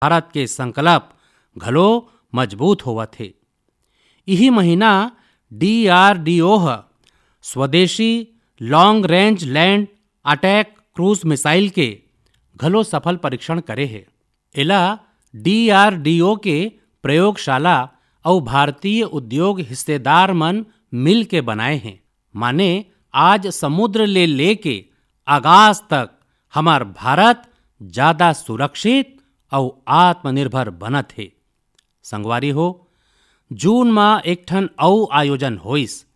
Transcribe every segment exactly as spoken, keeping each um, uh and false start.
भारत के संकल्प घलो मजबूत होवत हे। इही महीना डीआरडीओ ह स्वदेशी long range land attack cruise missile के घलो सफल परीक्षण करे हे। एला डीआरडीओ के प्रयोगशाला अउ भारतीय उद्योग हिस्सेदार मन मिल के बनाए हे। माने, आज समुद्र ले लेके आकाश तक हमर भारत ज्यादा सुरक्षित अउ आत्मनिर्भर बनत हे। संगवारी हो, जून म एक ठन अउ आयोजन होइस,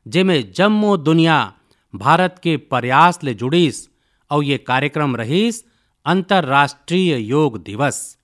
जेमे जम्मो दुनिया भारत के प्रयास ले जुड़िस अउ ये कार्यक्रम रहिस अंतर्राष्ट्रीय योग दिवस।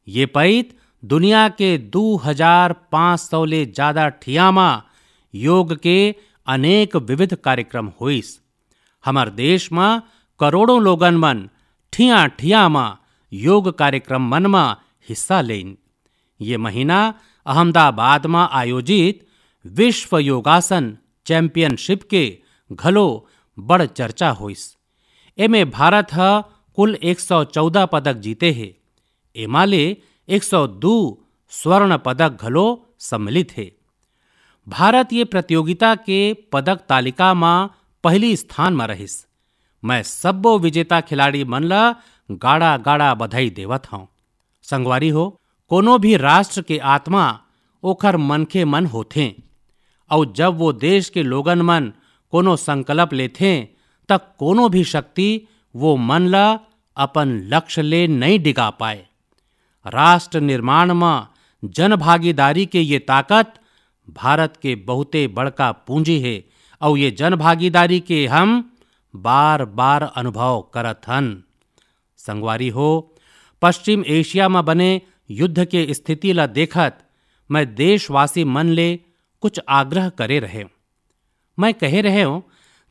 ये पइत दुनिया के दू हजार पाँच सौ ले जादा ठिया म योग के अनेक विविध कार्यक्रम होइस। हमर देश म करोड़ों लोगन मन ठिया-ठिया म योग कार्यक्रम मन म हिस्सा लेन। ये महीना अहमदाबाद म आयोजित विश्व योगासन चैंपियनशिप के घलो बड़ चर्चा होइस। एमे भारत ह कुल एक सौ चौदह पदक जीते हे। एमा ले एक सौ दू स्वर्ण पदक घलो सम्मिलित हे। भारत ये प्रतियोगिता के पदक तालिका म पहली स्थान म रहिस। मैं सब्बो विजेता खिलाड़ी मन ल गाड़ा-गाड़ा बधाई देवत हौं। संगवारी हो, कोनो भी राष्ट्र के आत्मा ओखर मनखे मन होथें, अउ जब वो देश के लोगन मन कोनो संकल्प लेथें, त कोनो भी शक्ति वो मन ल अपन लक्ष्य ले नइ डिगा पाए। राष्ट्र निर्माण म जनभागीदारी के ये ताकत भारत के बहुते बड़का पूंजी हे, अउ ये जनभागीदारी के हम बार-बार अनुभव करत हन। संगवारी हो, पश्चिम एशिया म बने युद्ध के स्थिति ल देखत मैं देशवासी मन ले कुछ आग्रह करे रहेंव। मैं कहे रहेंव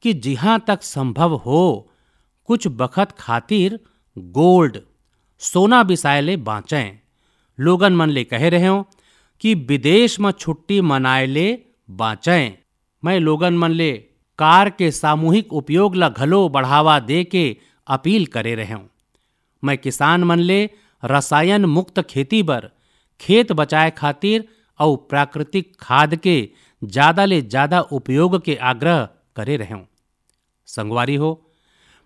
कि जिहां तक संभव हो, कुछ बखत खातिर गोल्ड, सोना बिसाए ले बांचें। लोगन मन ले कहे रहेंव कि विदेश म छुट्टी मनाए ले बांचें। मैं लोगन मन ले कार के सामूहिक उपयोग ल घलो बढ़ावा दे के अपील करे रहेंव। मैं किसान मन ले रसायन मुक्त खेती बर, खेत बचाए खातिर अउ प्राकृतिक खाद के जादा ले जादा उपयोग के आग्रह करे रहेंव। संगवारी हो,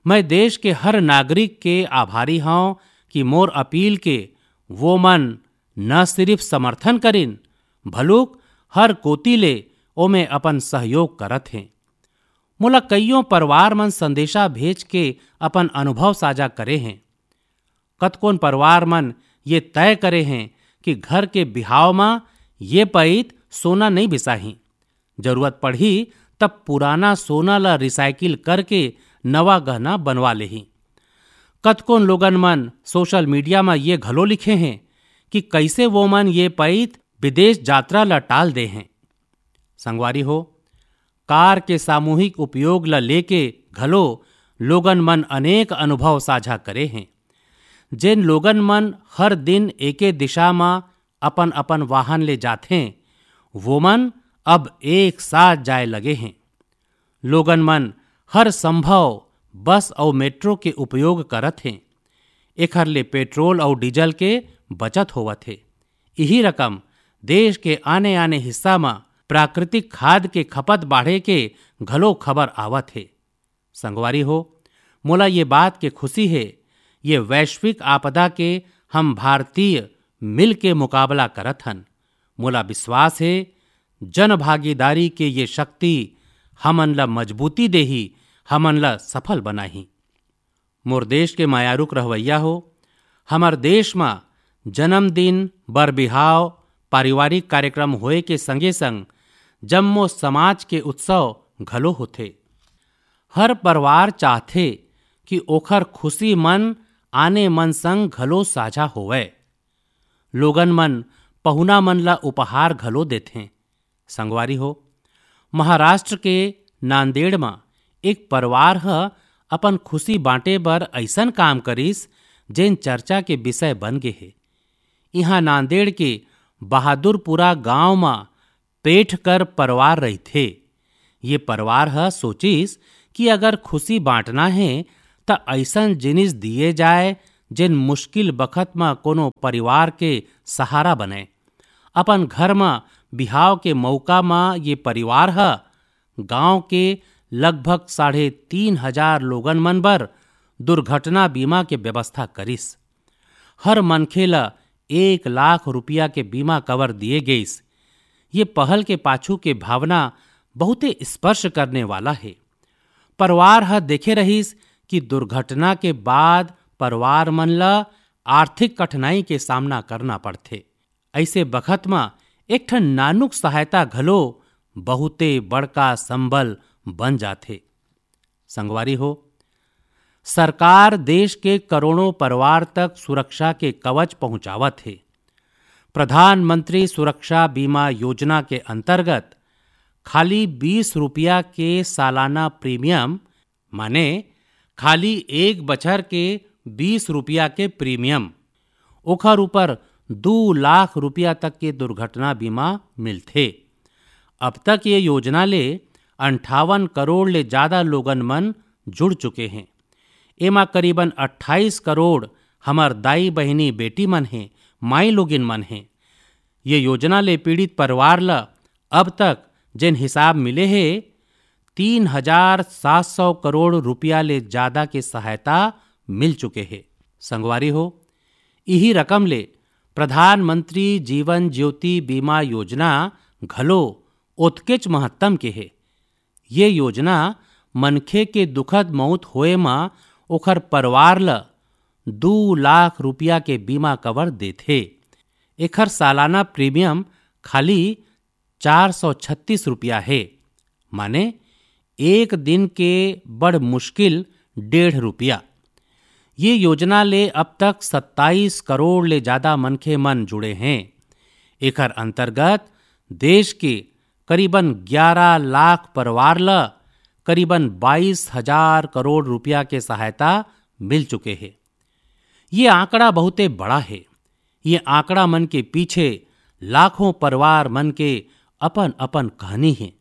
मैं देश के हर नागरिक के आभारी हौं कि मोर अपील के वो मन न सिरिफ समर्थन करिन, भलुक हर कोति ले ओमे अपन सहयोग करत हें। मोला कइयों परिवार मन संदेशा भेज के अपन अनुभव साझा करे हें। कतकोन परिवार मन ये तय करे हें कि घर के बिहाव म ये पइत सोना नइ बिसाही, जरूरत पड़ही तब पुराना सोना ल रिसाइकिल करके नवा गहना बनवा लेही। कतकोन लोगन मन सोशल मीडिया म ये घलो लिखे हें कि कइसे वो मन ये पइत विदेश यात्रा ल टाल दे हें। संगवारी हो, कार के सामूहिक उपयोग ल लेके घलो लोगन मन अनेक अनुभव साझा करे हें। जेन लोगन मन हर दिन एके दिशा म अपन-अपन वाहन ले जाथें, वो मन अब एक साथ जाए लगे हें। लोगन मन हर संभव बस अउ मेट्रो के उपयोग करत हें। एखर ले पेट्रोल अउ डीजल के बचत होवत हे। इही रकम देश के आने-आने हिस्सा म प्राकृतिक खाद के खपत बाढ़े के घलो खबर आवत हे। संगवारी हो, मोला ये बात के खुशी हे, ये वैश्विक आपदा के हम भारतीय मिल के मुकाबला करत हन। मोला विश्वास हे, जनभागीदारी के ये शक्ति हमन ल मजबूती देही, हमन ल सफल बनाही। मोर देश के मयारुक रहवैया हो, हमर देश म जन्मदिन, बर बिहाव, पारिवारिक कार्यक्रम होए के संगे-संग जम्मो समाज के उत्सव घलो होथे। हर परिवार चाहथे कि ओखर खुशी मन आने मन संग घलो साझा होवय। लोगन मन पहुना मन ल उपहार घलो देथें। संगवारी हो, महाराष्ट्र के नांदेड़ म एक परिवार ह अपन खुशी बांटे बर अइसन काम करिस, जेन चर्चा के विषय बन गे हे। इहां नांदेड़ के बहादुरपुरा गांव म पेठकर परिवार रहिथे। ये परिवार ह सोचिस कि अगर खुशी बांटना हे, त अइसन जिनिस दिए जाए, जेन मुश्किल बखत म कोनो परिवार के सहारा बनय। अपन घर म बिहाव के मौका म ये परिवार ह गांव के लगभग साढ़े तीन हजार लोगन मन बर दुर्घटना बीमा के व्यवस्था करिस। हर मनखे ल एक लाख रुपया के बीमा कवर दिए गइस। ये पहल के पाछू के भावना बहुते स्पर्श करने वाला हे। परिवार ह देखे रहिस कि दुर्घटना के बाद परिवार मन ल आर्थिक कठिनाई के सामना करना पड़थे। अइसे बखत म एक ठन नानुक सहायता घलो बहुते बड़का संबल बन जाथे। संगवारी हो, सरकार देश के करोड़ों परिवार तक सुरक्षा के कवच पहुंचावत हे। प्रधानमंत्री सुरक्षा बीमा योजना के अंतर्गत खाली बीस रुपया के सालाना प्रीमियम, माने खाली एक बछर के बीस रुपया के प्रीमियम, ओखर ऊपर दू लाख रुपया तक के दुर्घटना बीमा मिलथे। अब तक ये योजना ले अंठावन करोड़ ले जादा लोगन मन जुड़ चुके हें। एमा करीबन अट्ठाईस करोड़ हमर दाई बहिनी बेटी मन हें, माई लोगिन मन हें। ये योजना ले पीड़ित परिवार ल अब तक जेन हिसाब मिले हे, तीन हजार सात सौ करोड़ रुपया ले जादा के सहायता मिल चुके हे। संगवारी हो, इही रकम ले प्रधानमंत्री जीवन ज्योति बीमा योजना घलो ओतकेच महत्तम के हे। ये योजना मनखे के दुखद मौत होए म ओखर परिवार ल दू लाख रुपया के बीमा कवर देथे। एखर सालाना प्रीमियम खाली चार सौ छत्तीस रुपया हे, माने एक दिन के बड़ मुश्किल डेढ़ रुपया। ये योजना ले अब तक सत्ताईस करोड़ ले जादा मनखे मन जुड़े हें। एखर अंतर्गत देश के करीबन ग्यारह लाख परिवार ल करीबन बाईस हजार करोड़ रुपया के सहायता मिल चुके हे। ये आंकड़ा बहुते बड़ा हे। ये आंकड़ा मन के पीछे लाखों परिवार मन के अपन-अपन कहानी हे।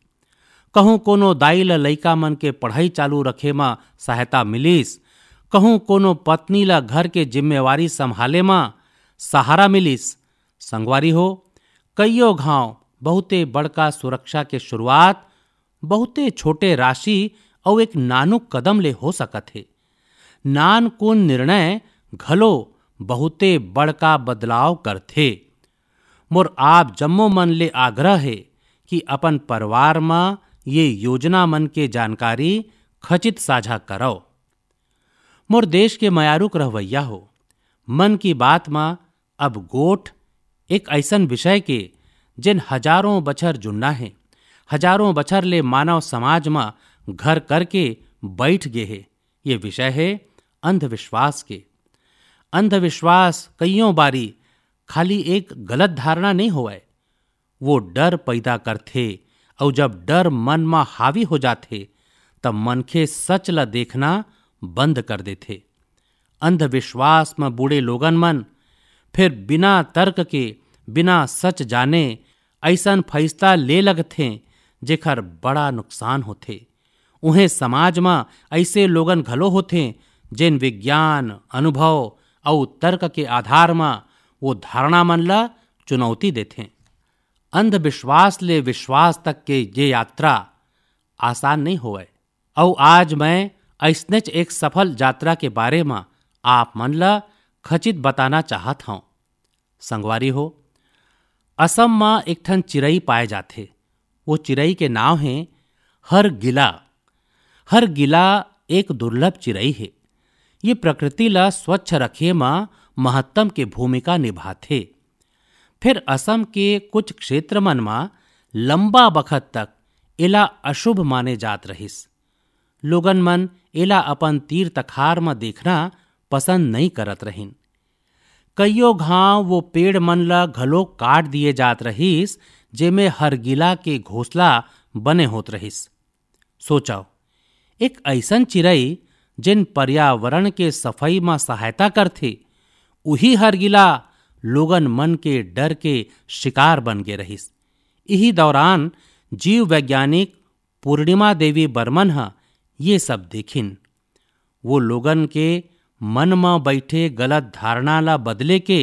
कहूं कोनो दाई ल लइका मन के पढ़ाई चालू रखे म सहायता मिलिस, कहूं कोनो पत्नी ल घर के जिम्मेवारी संभाले म सहारा मिलिस। संगवारी हो, कइयो घांव बहुते बड़का सुरक्षा के शुरुआत बहुते छोटे राशि अउ एक नानुक कदम ले हो सकत हे। नानकुन निर्णय घलो बहुते बड़का बदलाव करथे। मोर आप जम्मो मन ले आग्रह हे कि अपन परिवार म ये योजना मन के जानकारी खचित साझा करव। मोर देश के मयारुक रहवैया हो, मन की बात म अब गोठ एक अइसन विषय के, जेन हजारों बछर जुन्ना हे, हजारों बछर ले मानव समाज म घर करके बइठ गे हे। ये विषय हे अंधविश्वास के। अंधविश्वास कइयों बारी खाली एक गलत धारणा नइ होवय, वो डर पैदा करथे, अउ जब डर मन म हावी हो जाथे, तब मनखे सच ल देखना बंद कर देथे। अंधविश्वास म बूड़े लोगन मन फिर बिना तर्क के, बिना सच जाने अइसन फैसला ले लगथें, जेखर बड़ा नुकसान होथे। उहें समाज म अइसे लोगन घलो होथें, जेन विज्ञान, अनुभव अउ तर्क के आधार म वो धारणा मन ल चुनौती देथें। अंधविश्वास ले विश्वास तक के ये यात्रा आसान नइ होवय। अउ आज मैं अइसनेच एक सफल यात्रा के बारे म आप मन ल खचित बताना चाहत हंव। संगवारी हो, असम म एक ठन चिरई पाए जाथे। वो चिरई के नाव हे हरगिला। हरगिला एक दुर्लभ चिरई हे। ये प्रकृति ल स्वच्छ रखे म महत्तम के भूमिका निभाथे। फिर असम के कुछ क्षेत्र मन म लंबा बखत तक एला अशुभ माने जात रहिस। लोगन मन एला अपन तीर तखार म देखना पसंद नइ करत रहिन। कइयो घांव वो पेड़ मन ल घलो काट दिए जात रहिस, जेमे हरगिला के घोंसला बने होत रहिस। सोचव, एक अइसन चिरई, जेन पर्यावरण के सफई म सहायता करथे, उही हरगिला लोगन मन के डर के शिकार बन गे रहिस। इही दौरान जीव वैज्ञानिक पूर्णिमा देवी बर्मन ह ये सब देखिन। वो लोगन के मन म बइठे गलत धारणा ला बदले के